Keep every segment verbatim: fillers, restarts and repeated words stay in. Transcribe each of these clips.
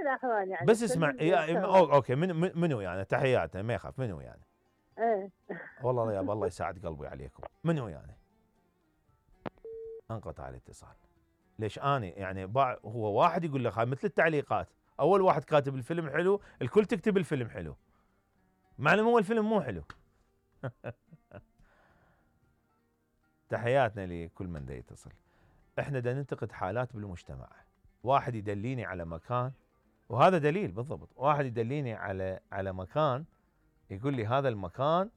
الاخوان يعني بس اسمع كلهم يا يشتغلون. اوكي من من- منو يعني تحياتنا ما يخاف منو يعني ايه والله يا الله يساعد قلبي عليكم منو يعني انقطع الاتصال ليش اني يعني باع هو واحد يقول لك هاي مثل التعليقات اول واحد كاتب الفيلم حلو الكل تكتب الفيلم حلو معلوم هو الفيلم مو حلو. تحياتنا لكل من دا يتصل. احنا دا ننتقد حالات بالمجتمع واحد يدليني على مكان وهذا دليل بالضبط واحد يدليني على على مكان يقول لي هذا المكان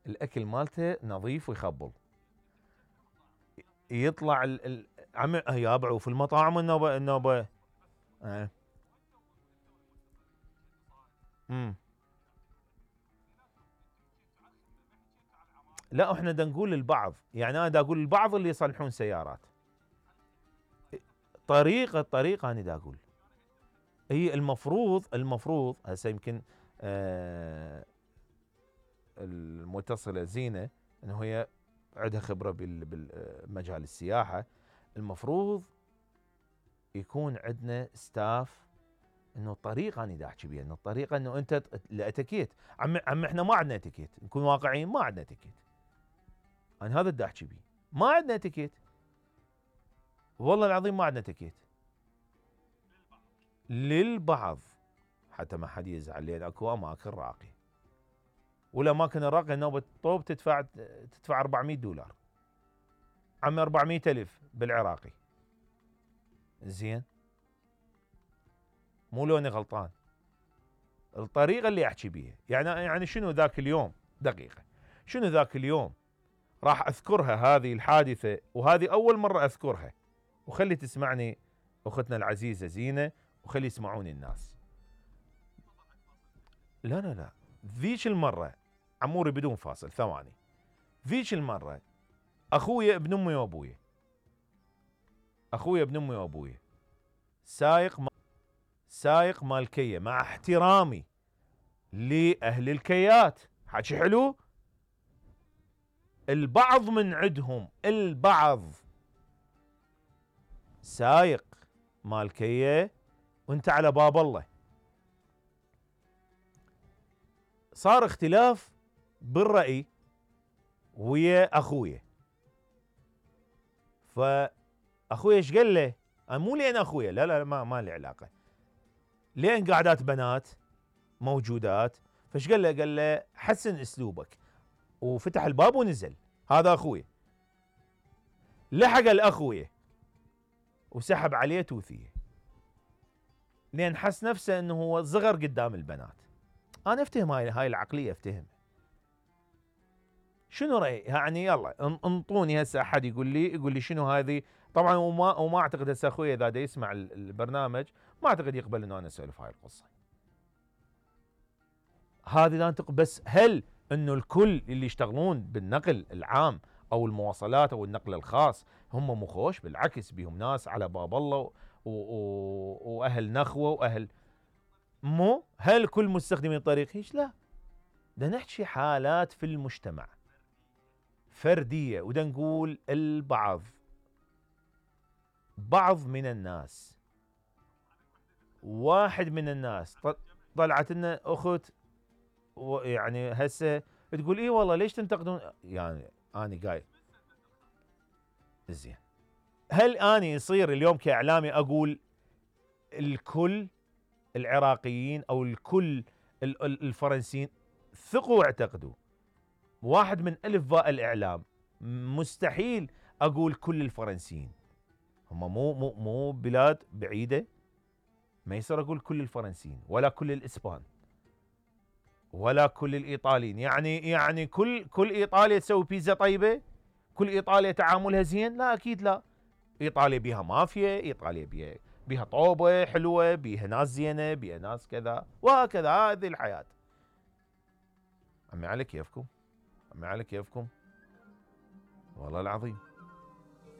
الاكل مالته نظيف ويخبل يطلع ال ال عم يابا وفي المطاعم النوبه النوبه اه. امم لا احنا دا نقول للبعض يعني انا دا اقول للبعض اللي يصلحون سيارات طريقه طريقه انا دا اقول هي المفروض المفروض هسه يمكن آه المتصله زينه انه هي عندها خبره بالمجال السياحه المفروض يكون عندنا ستاف انه الطريقه انا دا احكي بيها انه الطريقه انه انت الاتيكيت عم عم احنا ما عندنا اتيكيت نكون واقعيين ما عندنا اتيكيت انا هذا دا احكي بيه ما عندنا اتيكيت والله العظيم ما عندنا اتيكيت للبعض حتى ما حد يزعل لان اكو اماكن راقيه والاماكن الراقيه نوبه طوب تدفع تدفع أربعمية دولار عم أربعمية ألف بالعراقي زين مو لوني غلطان الطريقه اللي احكي بيها يعني يعني شنو ذاك اليوم دقيقه شنو ذاك اليوم راح اذكرها هذه الحادثه وهذه اول مره اذكرها وخلي تسمعني اختنا العزيزه زينه وخلي يسمعوني الناس. لا لا لا ذيك المره عموري بدون فاصل ثواني ذيك المره اخويا ابن امي وابويا اخويا ابن امي وابويا سايق ما سايق مال كيا مع احترامي لاهل الكيات حكي حلو البعض من عندهم البعض سايق مال كيا وانت على باب الله صار اختلاف بالرأي ويا اخويا فاخويا ايش قال له انا مو لين اخويا لا لا ما ما لي علاقه لين قعدات بنات موجودات فايش قال له قال له حسن اسلوبك وفتح الباب ونزل هذا اخويا لحق الاخويا وسحب عليه توثيه لين حس نفسه انه هو صغر قدام البنات انا افتهم هاي هاي العقليه افتهم شنو راي يعني يلا انطوني هسه احد يقول لي يقول لي شنو هذه طبعا وما وما اعتقد هسه اخويا اذا دا يسمع البرنامج ما اعتقد يقبل انه انا اسولف هاي القصه هذه لا انتق بس هل انه الكل اللي يشتغلون بالنقل العام او المواصلات او النقل الخاص هم مخوش بالعكس بهم ناس على باب الله و... و... واهل نخوه واهل مو هل كل مستخدمي الطريق هيك لا ده نحكي حالات في المجتمع فرديه وده نقول البعض بعض من الناس واحد من الناس طلعت لنا اخت يعني هسه تقول ايه والله ليش تنتقدون يعني اني قايل زين هل اني يصير اليوم كاعلامي اقول الكل العراقيين او الكل الفرنسيين ثقوا واعتقدوا واحد من الف باء الاعلام مستحيل اقول كل الفرنسيين هم مو مو مو بلاد بعيده ما يصير اقول كل الفرنسيين ولا كل الاسبان ولا كل الايطاليين يعني يعني كل كل ايطاليا تسوي بيتزا طيبه كل ايطاليا تعاملها زين لا اكيد لا ايطاليا بيها مافيا ايطاليا بيها بيها طوبه حلوه بيها ناس زينه بيها ناس كذا وهكذا هذه الحياه عمي على كيفكم عمي على كيفكم والله العظيم